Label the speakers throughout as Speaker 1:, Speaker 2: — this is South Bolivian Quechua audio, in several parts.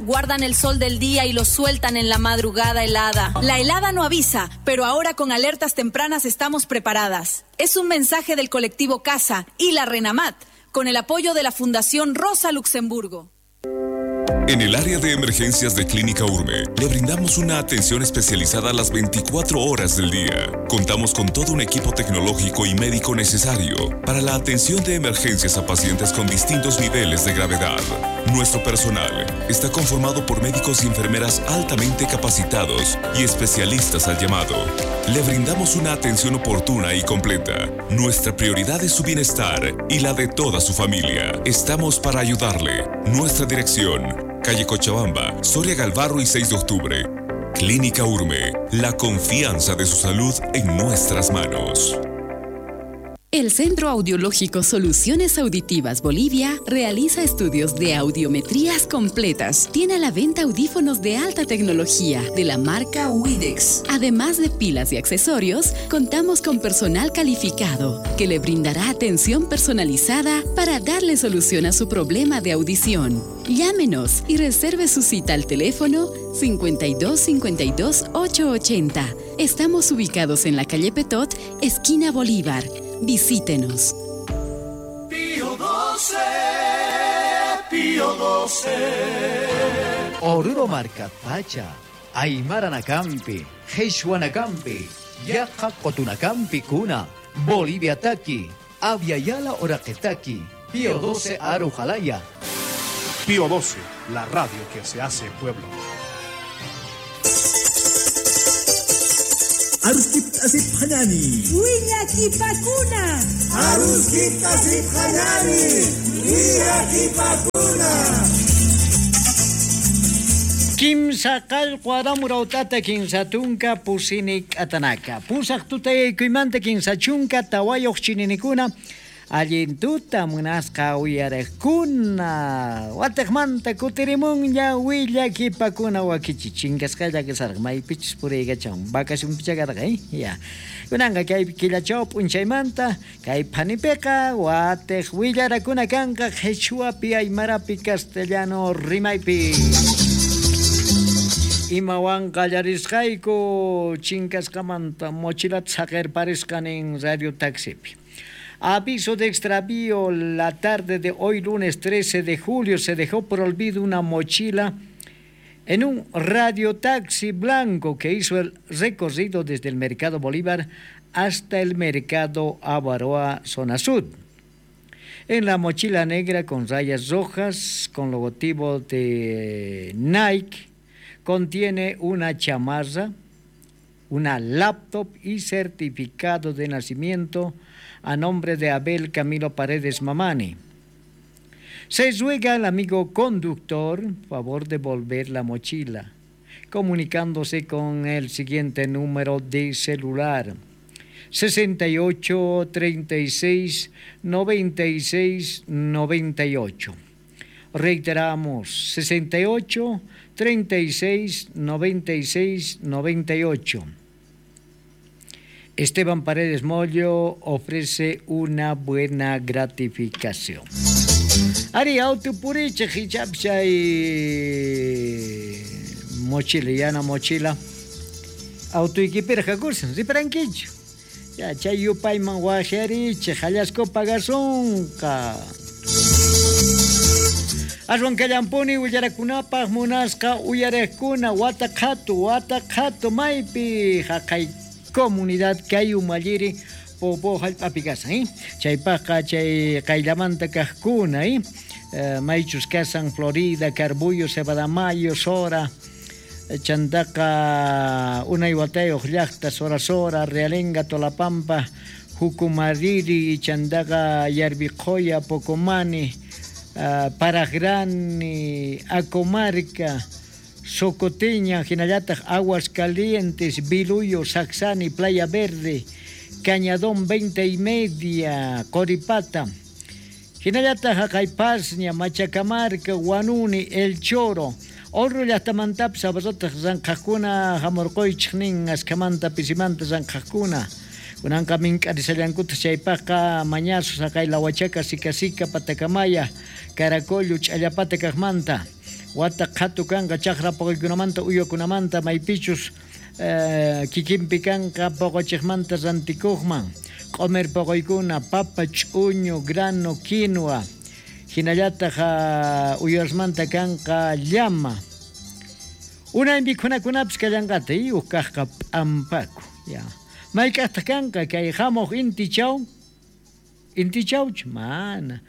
Speaker 1: Guardan el sol del día y lo sueltan en la madrugada helada. La helada no avisa, pero ahora con alertas tempranas estamos preparadas. Es un mensaje del colectivo Casa y la Renamat, con el apoyo de la Fundación Rosa Luxemburgo.
Speaker 2: En el área de emergencias de Clínica Urme, le brindamos una atención especializada a las 24 horas del día. Contamos con todo un equipo tecnológico y médico necesario para la atención de emergencias a pacientes con distintos niveles de gravedad. Nuestro personal está conformado por médicos y enfermeras altamente capacitados y especialistas al llamado. Le brindamos una atención oportuna y completa. Nuestra prioridad es su bienestar y la de toda su familia. Estamos para ayudarle. Nuestra dirección: calle Cochabamba, Soria Galvarro y 6 de octubre. Clínica Urme, la confianza de su salud en nuestras manos.
Speaker 3: El Centro Audiológico Soluciones Auditivas Bolivia realiza estudios de audiometrías completas. Tiene a la venta audífonos de alta tecnología de la marca Widex. Además de pilas y accesorios, contamos con personal calificado que le brindará atención personalizada para darle solución a su problema de audición. Llámenos y reserve su cita al teléfono 52 52 880. Estamos ubicados en la calle Petot, esquina Bolívar. Visítenos.
Speaker 4: Pío 12, Pío 12.
Speaker 5: Oruro Marca Pacha, Aymara Nakampi, Jesuanacampi, Yaja Cotunacampi Kuna, Bolivia Taki, Aviala Oraqetaki, Pío 12 Arujalaya.
Speaker 6: Pío 12, la radio que se hace pueblo.
Speaker 7: Aruskip asip hanani.
Speaker 8: Willakipakuna.
Speaker 7: Aruskip asip hanani. Willakipakuna.
Speaker 9: Kimsa qallqu aramurautata kinsa tunka pusini k'atanaka. Pusaq tutayaykuymanta kinsa chunka tawayuq chininikuna. Allin tuta munasqa uyariqkuna. Watiqmanta kutirimunña willakipakuna wakichi chinkasqalla kasarqa maypichus puriykachan vacacionpicha karqa ya. Kunanqa kay killachaw p'unchaymanta kay phanipiqa watiq willarakuna kanqa qhichwapi aymarapi castellano rimaypi. Imawan qallarisqayku chinkasqamanta mochilata saqirparisqa nin radio taxipi. Aviso de extravío, la tarde de hoy, lunes 13 de julio, se dejó por olvido una mochila en un radiotaxi blanco que hizo el recorrido desde el Mercado Bolívar hasta el Mercado Avaroa, zona sur. En la mochila negra con rayas rojas, con logotipo de Nike, contiene una chamarra, una laptop y certificado de nacimiento a nombre de Abel Camilo Paredes Mamani. Se ruega al amigo conductor favor de devolver la mochila, comunicándose con el siguiente número de celular: 68 36 96 98. Reiteramos, 68 36 96 98. Esteban Paredes Mollo ofrece una buena gratificación. Ari autopuriche hichapcha y mochila, yana mochila. Autoequipera jakursan, riparanquicho. Ya chayupayman wajariche, jallasco pagasunqa. Aswan kallampuni willarakunapaq munasqa uyariqkuna wataqhatu wataqhatu maypi haqay comunidad kay umalliri popo hallp'api kasan, chaypaqqa chay qayllamanta kaqkuna, maychus kasan Florida, Carbullo, Cebadamayo, Sora, Chantaqa, unay watayuq llaqta, Sora Sora, Realenga, Tolapampa, Jucumariri, Chantaqa, Yarbiqoya, Pocomani, Paragrani, Acomarca, Socoteña, Jinallataq, Aguas Calientes, Biluyo, Saxani, Playa Verde, Cañadón 20 y media, Coripata, Jinallataq, Jacaypasña, Machacamarca, Guanuni, El Choro, Orro llaqtamantapis abarrotaq ranqhaqkuna hamurquychik nin askamanta pisimanta ranqhaqkuna. Kunanqa mink'arisallankutaq chaypaqqa mañazo saqay Lahuachaca, Sicasica, Patacamaya, Caracollo, Ch'allapata kaqmanta. Wata qhatu kanqa chaqra poqoykunamanta uywakunamanta maypichus kikinpi kanqa poqochiqmanta rantikuqman. Q'omer poqoykuna, papa, ch'uñu, grano, quinoa. Hinallataq uywasmanta kanqa llama. Unay mikhunakunapis kallanqata, uj kaqqa p'ampaku. Ya. Mayk'aqtaq kanqa kay hamuq intichaw? Intichawchu? Mana.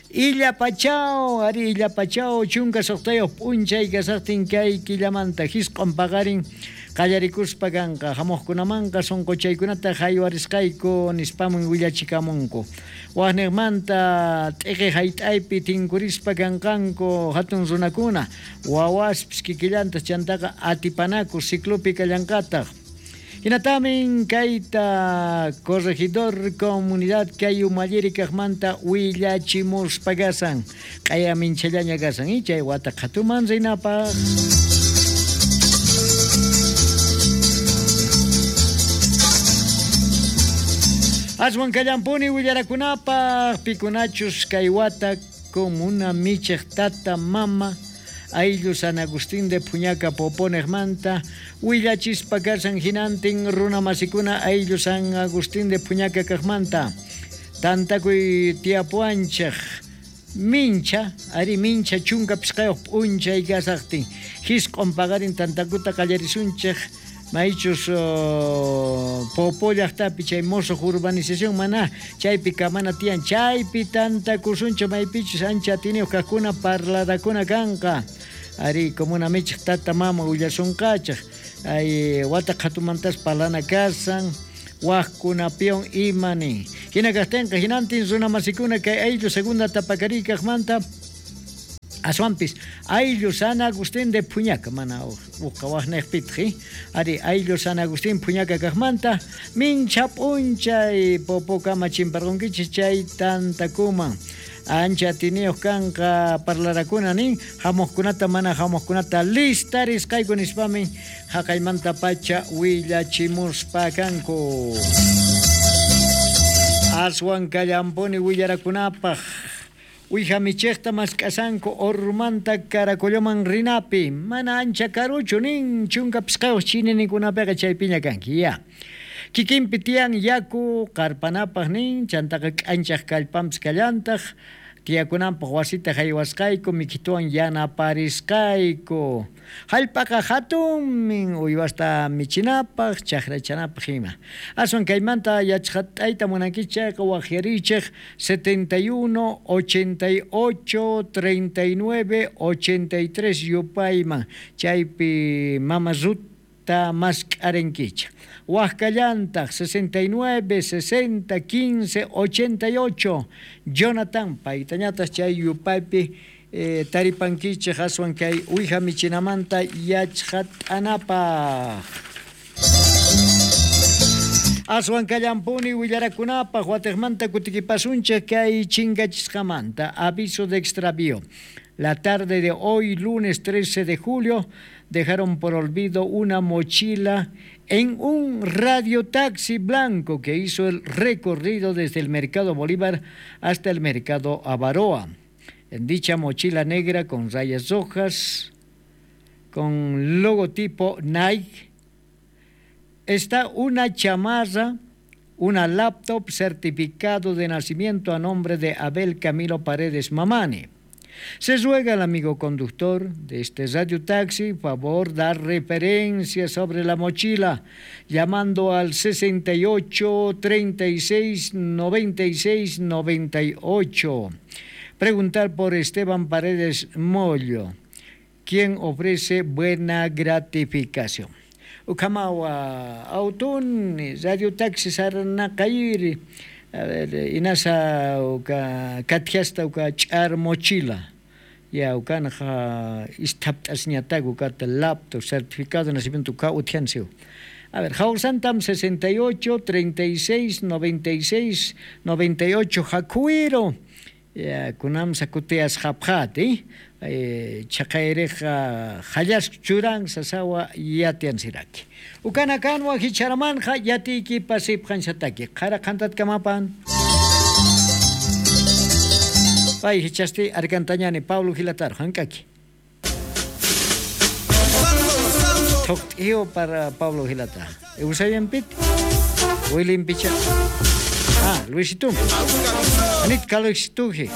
Speaker 9: Illapachaw, ari illapachaw, 16 p'unchay kasaqtin kay killamanta hisq'un paqarin qallarikuspa kanqa hamuqkunamanqa sunquchaykunata haywarisqayku nispaman willachikamunku. Waqniqmanta t'iqi hayt'aypi tinkurispa kanqanku hatun runakuna, wawaspis kikillantaq chantaqa atipanaku ciclopi kallanqataq. Hinatamin kayta corregidor comunidad kay umalliri kaqmanta willachimuspa kasan q'aya minchallaña kasan chay wata qhatuman rinapaq. Aswan kallampuni willarakunapaq pikunachus kay wata comuna michiq tata mama ayllu San Agustín de Puñaca Poponejmanta willachispa kasan hinantin runa masikuna ayllu San Agustín de Puñaca kaqmanta tantakuy tiapuanchaq mincha ari mincha 15 p'unchay kasaqtin hisq'un paqarin tantakuta qallarisunchaq maychus Popo llaqtapi chay mosoq urbanización mana chaypi kamana tiyan chaypi tantakusunchaq maypichus ancha atiniyuq kaqkuna parlarakuna kanqa ari comuna michiq tata mama willasunqachaq ay wata qhatumantas parlana kasan waqkunapiwan ima nin hina kaqtinqa hinantin runa masikuna kay ayllu segunda tapakariy kaqmanta aswanpis ayllu San Agustín de Puñaca mana uqa waqniqpitaq ari ayllu San Agustín Puñaca kaqmanta mincha p'unchay Popokama chimparqunkichis chay tantakuman ancha atiniyuq kanqa parlarakuna nin hamuqkunata mana hamuqkunata listarisqayku nispamin haqaymanta pacha willachimuspa kanku. Aswan kallampuni willarakunapaq Uija michejta mask'asanku Ormanta Caracolloman rinapi mana ancha karuchu nin 15 chininakunapiqa chaypiña kanki ya. Kikinpi tiyan yaku qarpanapaq nin chantaqa k'anchaq kallpanpis kallantaq tiyakunanpaq wasita haywasqayku mikhituwan yanaparisqayku. Hallp'aqa hatunmin uywasta michinapaq chaqrachanapaq ima. Aswan kaymanta yachaqat'ayta munankichik chayqa waqyarichik 71 88 39 83 yupayman chaypi mama Ruth mask'arinkichik. Waqkallantaq 69 60 15 88 Jonathan paytañataq chay yupaypi taripankichik aswan kay uwija michinamanta yachqat'anapaq. Aswan kallampuni willarakunapaq watiqmanta kutikipasunchik kay chinkachisqamanta aviso de extravío. La tarde de hoy, lunes 13 de julio, dejaron por olvido una mochila en un radiotaxi blanco que hizo el recorrido desde el Mercado Bolívar hasta el Mercado Avaroa. En dicha mochila negra con rayas rojas, con logotipo Nike, está una chamarra, una laptop, certificado de nacimiento a nombre de Abel Camilo Paredes Mamani. Se ruega al amigo conductor de este radiotaxi favor dar referencia sobre la mochila, llamando al 68 36 96 98. Preguntar por Esteban Paredes Mollo, quien ofrece buena gratificación. Ukamawa autun radiotaxi sarnaqayri. A ver, inasa uka kathiasta uka ch'ar mochila. Ya ukanja istaptasñataq ukata laptop, certificado de nacimiento uka uthiansiu. A ver, Jausantam 68 36 96 98 Jacuiro. Ya kunam sakuteas japjati, chaqayriqa hallasq churan sasawa yatiansiraki. Ukana kanwa hicharamanja yatiki pasipqansataki. Qara qantatkamapan. Pay hichasti arkantañani Pablo Gilatar hankaki. Thoqt'iyo para Pablo Gilata. Eusayanpit. William Picha. Ah, Luisito. Anit Kalexituji.